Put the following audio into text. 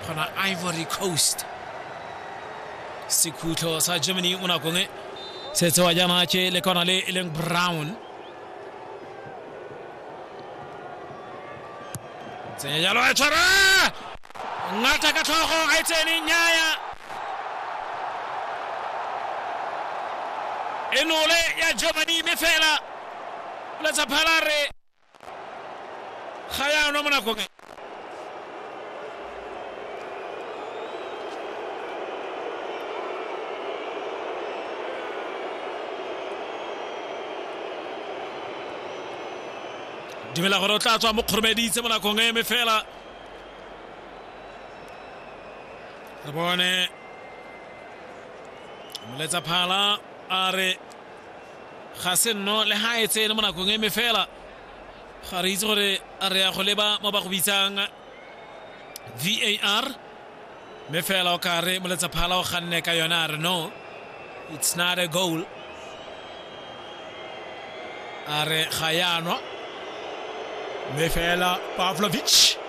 Gona Ivory Coast. Sekhutlo sa Germany mo nakong e se tsewa jaana ke le kona le e leng Brown. Tsenya jalo a tshwara ngata ka tlhogo ga e tsene nnyaya e nole ya Germany mme fela letsa phala re ga ya nwa mo nakong e. Dumela gore o tla tswa mo kgoromeditse mo nakong e mme fela re bone moletsa phala a re ga se nno le ga e tsene mo nakong e mme fela ga re itse gore re ya go leba mo ba go bitsang VAR mme fela o ka re moletsa phala o ganne ka yone a re no, it's not a goal, a re ga ya nwa. Mme fela Pavlovic